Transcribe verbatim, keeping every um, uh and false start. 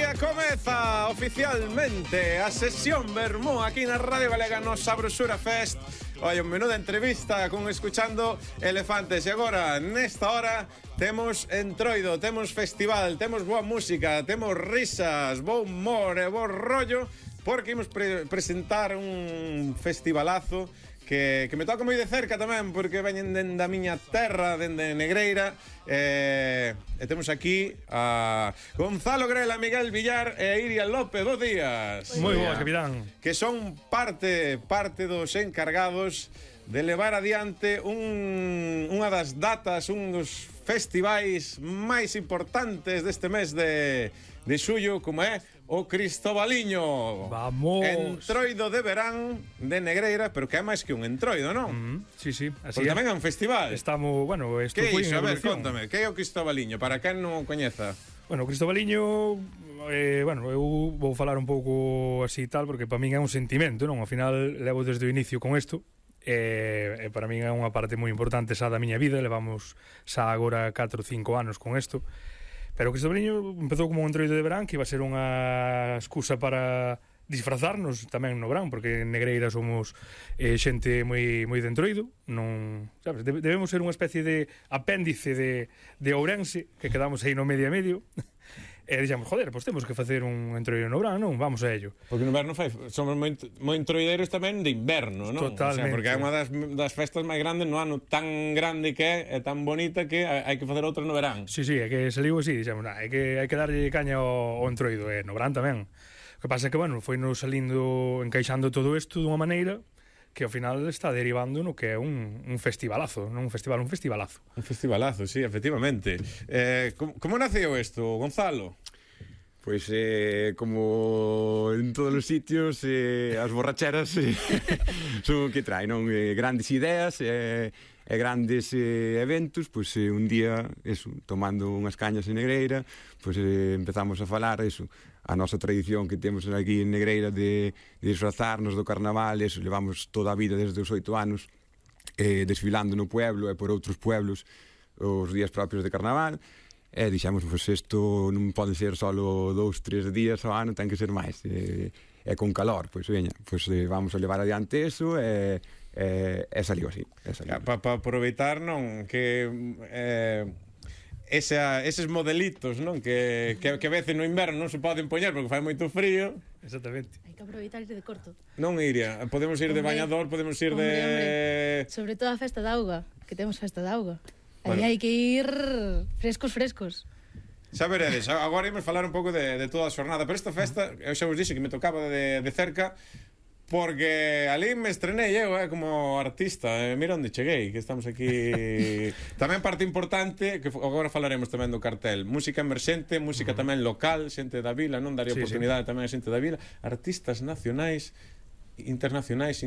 día comeza oficialmente a sesión Vermú aquí na Radio Galega no Sabrosura Fest. Oye, un menú de entrevista con escuchando Elefantes. E agora, nesta hora, temos entroido, temos festival, temos boa música, temos risas, bo humor e bo rollo, porque imos pre presentar un festivalazo que, que me toca moi de cerca tamén, porque veñen dende a miña terra, dende Negreira. E, e temos aquí a Gonzalo Grela, Miguel Villar e Iria López. Dos días. Moi boas, capitán. Que son parte parte dos encargados de levar adiante un, unha das datas, un dos festivais máis importantes deste mes de, de xullo, como é o Cristobaliño. Vamos. Entroido de verán de Negreira, pero que é máis que un entroido, non? Mm, sí, sí, así Porque é. tamén é un festival. Estamos, bueno, isto Que foi iso? A ver, evolución. contame, que é o Cristobaliño? Para quen non o coñeza. Bueno, o Cristobaliño, eh, bueno, eu vou falar un pouco así tal, porque para min é un sentimento, non? Ao final levo desde o inicio con isto, e, e para min é unha parte moi importante xa da miña vida. Levamos xa agora catro ou cinco anos con isto. Pero o Cristobaliño empezou como un entroido de verán, que iba a ser unha excusa para disfrazarnos tamén no verán, porque en Negreira somos eh, xente moi moi de entroido, non, sabes, debemos ser unha especie de apéndice de, de Ourense, que quedamos aí no medio a medio. E dixemos, joder, pois temos que facer un entroido no verán, non? Vamos a ello. Porque no inverno fai, somos moi, moi entroideiros tamén de inverno, non? Totalmente. O sea, porque é unha das, das festas máis grandes no ano, tan grande que é, e tan bonita que hai que facer outra no verán. Sí, sí, é que saliu así, dixemos, nah, hai que, hai que darlle caña ao, ao entroido, e no verán tamén. O que pasa é que, bueno, foi nos salindo, encaixando todo isto dunha maneira que ao final está derivando no que é un, un festivalazo, non un festival, un festivalazo. Un festivalazo, sí, efectivamente. Eh, como, como naceu isto, Gonzalo? Pois eh, como en todos os sitios, eh, as borracheras eh, son o que trae, non? Eh, grandes ideas e eh, grandes eh, eventos. Pois eh, un día, eso, tomando unhas cañas en Negreira, pois eh, empezamos a falar eso, a nosa tradición que temos aquí en Negreira de, de disfrazarnos do carnaval. Eso, levamos toda a vida desde os oito anos eh, desfilando no pueblo e por outros pueblos os días propios de carnaval. E dixemos, pois isto non pode ser só dous, tres días ao ano, ten que ser máis. E, e con calor, pois veña, pois eh, vamos a levar adiante eso e, e, e saliu así. Para pa aproveitar, non, que eh, esa, eses modelitos, non, que, que, que a veces no inverno non se poden poñer porque fai moito frío. Exactamente. Hai que aproveitar de corto. Non iría, podemos ir de Hombre, bañador, podemos ir hombre, de... hombre. Sobre todo a festa da auga, que temos festa da auga. Aí Bueno. hai que ir frescos, frescos. Xa veredes, agora imos falar un pouco de, de toda a xornada. Pero esta festa, eu xa vos dixe que me tocaba de, de cerca, porque ali me estrenei eu eh, como artista. eh, Mira onde cheguei, que estamos aquí. Tamén parte importante, que agora falaremos tamén do cartel, música emerxente, música tamén local, xente da vila, non daría Sí, oportunidade sí. tamén a xente da vila, artistas nacionais, internacionais,